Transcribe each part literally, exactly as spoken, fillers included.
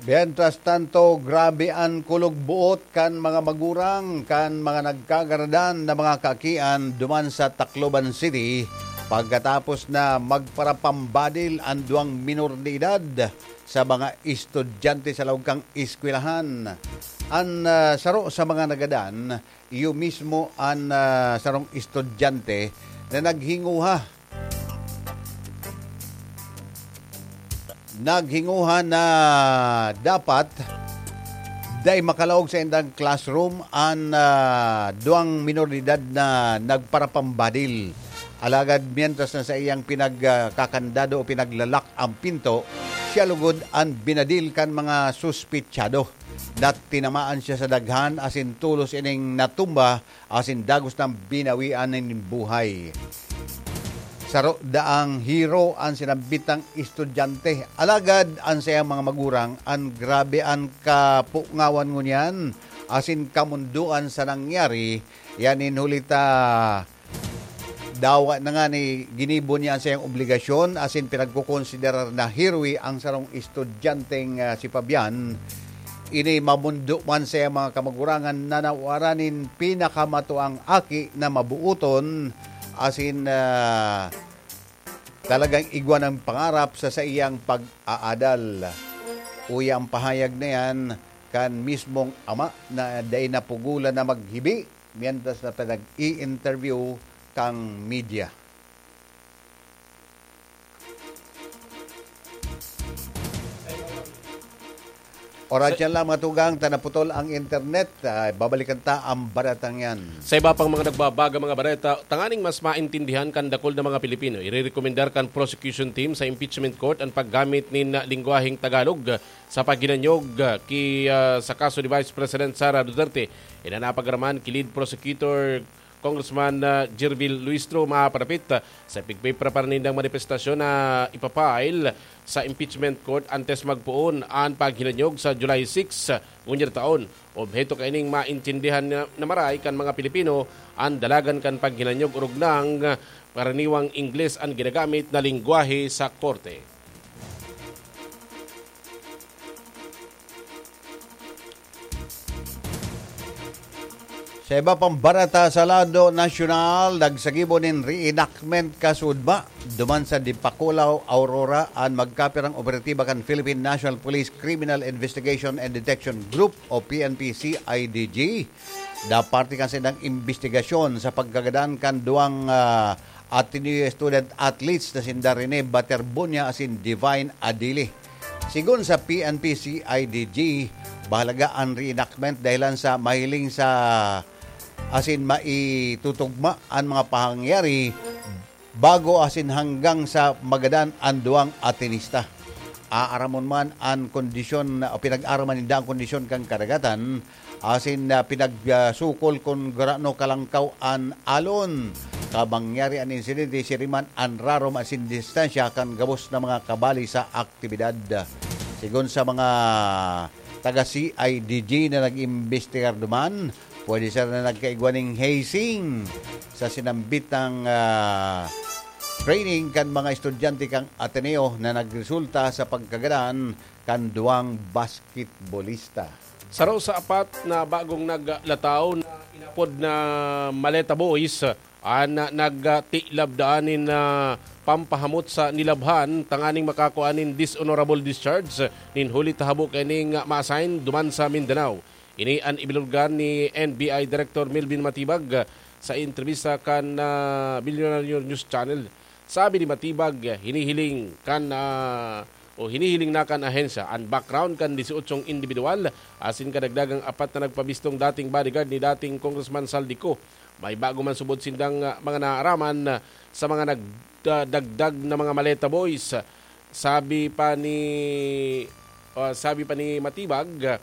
Mientras tanto, grabe an kulog-buot kan mga magurang kan mga nagkagaradan na mga kaakian duman sa Tacloban City pagkatapos na magparapambadil an duwang minor de edad sa mga estudyante sa laog kan eskwelahan. An, ah, saro sa mga nagadan, iyo mismo an, ah, sarong estudyante na naghinguha naghinguha na dapat dai makalaog sa indang classroom an, ah, duwang minor de edad na nagparapambadil. Alagad mientras na saiyang pinagkakandado o pinaglalak ang pinto, siya lugod an binadil kan mga suspetsado. Natinamaan siya sa daghan asin tolos ining natumba asin dagos nang binawian nin buhay. Saro daang hero an sinambitang estudyante, alagad an saiyang mga magurang an grabe an kapungawan ngunyan asin kamundoan sa nangyari. Yan in huli ta dawa na nga ni ginibo niya an saiyang obligasyon asin pinagkokonsiderar na heroe ang sarong estudyanteng, ah, si Fabian. Ini mamundo man sa mga kamagurangan na nawara nin pinakamatuang aki na mabuoton, asin, ah, talagang igwa ng pangarap sa saiyang pag-aadal. Uya ang pahayag na yan kan mismong ama na dai napugulan na maghibi mientras na pinag-i-interview kang media. Oras yan lang, mga tugang, ta naputol ang internet. Ah, babalikan ta ang baratang yan. Sa iba pang mga nagbabaga mga bareta, tanganing mas maintindihan kan dakul na mga Pilipino, irerekomendar kan prosecution team sa impeachment court ang paggamit nin lingwaheng Tagalog sa paghinanyog ki, ah, sa kaso ni Vice President Sara Duterte. Iyan an napag-araman ki lead prosecutor Congressman, ah, Jervil Luistro maparapit, ah, sa pigpiprepara nindang manifestasyon na ipa-file sa impeachment court antes magpoon an paghinanyog sa July six, ah, ngunyan taon. Obheto kaining maintindihan na, na maray kan mga Pilipino an dalagan kan paghinanyog orog nang, ah, karaniwang Ingles an ginagamit na lengwahe sa korte. Sa iba pang bareta sa lado nasyonal, nagsagibo nin reenactment kasudma duman sa Dipakulaw, Aurora, an magkapirang operatiba kan Philippine National Police Criminal Investigation and Detection Group o P N P C I D G. Naparte kan saindang imbestigasyon sa pagkagadan kan duwang, ah, Ateneo student athletes na sinda Rene Baterbunya asin Divine Adili. Sigon sa P N P C I D G, bahalaga an reenactment dahilan sa mahiling sa asin maitutugma an mga pangyayari bago asin hanggang sa magadan an duwang atenista. Aaramon man an kondisyon o pinag-aaraman ninda an kondisyon kan kadagatan asin, ah, pinagsukol kun gurano kalangkaw an alon. Kabangyari an insidente, siring man an rarom asin distansya kan gabos na mga kabali sa aktibidad. Sigon sa mga taga C I D G na nag-imbestigar duman, pwede sana nagkaigwa ning hazing sa sinambitang, ah, training kan mga estudyante kan Ateneo na nagresulta sa pagkagadan kan duwang basketbolista. Saro sa apat na bagong naglataw na inapod na Maleta Boys an nagtilab daan nin, ah, pampahamot sa nilabhan tanganing makakua nin dishonorable discharge nin huli ta habo kaining ma-assign duman sa Mindanao. Ini an ibinulgar ni N B I Director Melvin Matibag sa entrebista kan, ah, Milyonaryo News Channel. Sabi ni Matibag, hinihiling kan, ah, o hinihiling na kan ahensya an background kan dieciochong indibidwal asin kadagdagang apat na nagpabistong dating bodyguard ni dating Congressman Zaldy Co. May bago man subod sindang, ah, mga naaraman, ah, sa mga nagdagdag na mga Maleta Boys. Sabi pa ni, ah, sabi pa ni Matibag, ah,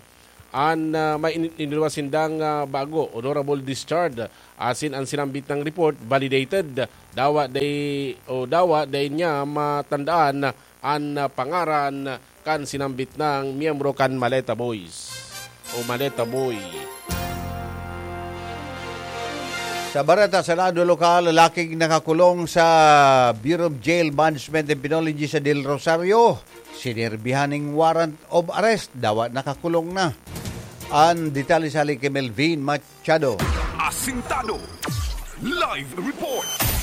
an, ah, may in-, iniluwas sindang, ah, bago, honorable discharge, asin an sinambit na report validated. Dawa dai, o dawa dai niya matandaan an, ah, pangaran kan sinambit na miyembro kan Maleta Boys o Maleta Boy. Sa bareta, Senado lokal, lalaking nakakulong sa Bureau of Jail Management and Penology sa Del Rosario, sinerbihan ning warrant of arrest, dawa nakakulong na. Ang detalye sa hali kay Melvin Machado. Asintado. Live report.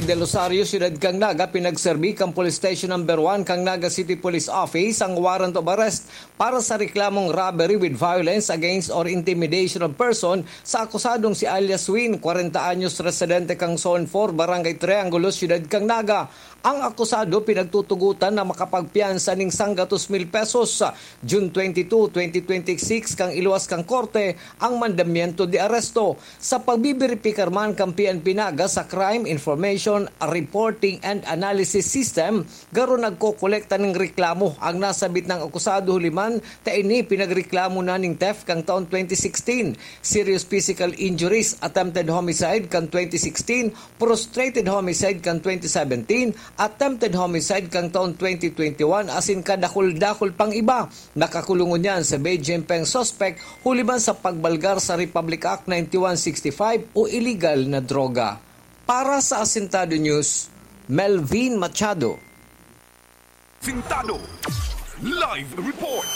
Del Rosario, siyudad kan Naga, pinagserbi kan Police Station Number One kan Naga City Police Office ang warrant of arrest para sa reklamong robbery with violence against or intimidation of person sa akusadong si alias Win, kwarenta anyos, residente kan Zone four, Barangay Triangulo, siyudad kan Naga. Ang akusado pinagtutugotan na makapagpiyansa ning sanggatos mil pesos. June twenty-two, twenty twenty-six, kan iluwas kan korte ang mandamiento de aresto. Sa pagbiberipikar man kan P N P Naga sa Crime Information Reporting and Analysis System, garo nagkokolekta ning reklamo ang nasabit nang akusado, huli man ta ini pinagreklamo na ning theft kan taon twenty sixteen, serious physical injuries, attempted homicide kan twenty sixteen, prostrated homicide kan twenty seventeen, attempted homicide kan taon twenty twenty-one, asin kadakul-dakul pang iba. Nakakulong ngunyan si Bei Jinpeng, suspek huli man sa pagbalgar sa Republic Act ninety-one sixty-five o iligal na droga. Para sa Asintado News, Melvin Machado. Sintado. Live report.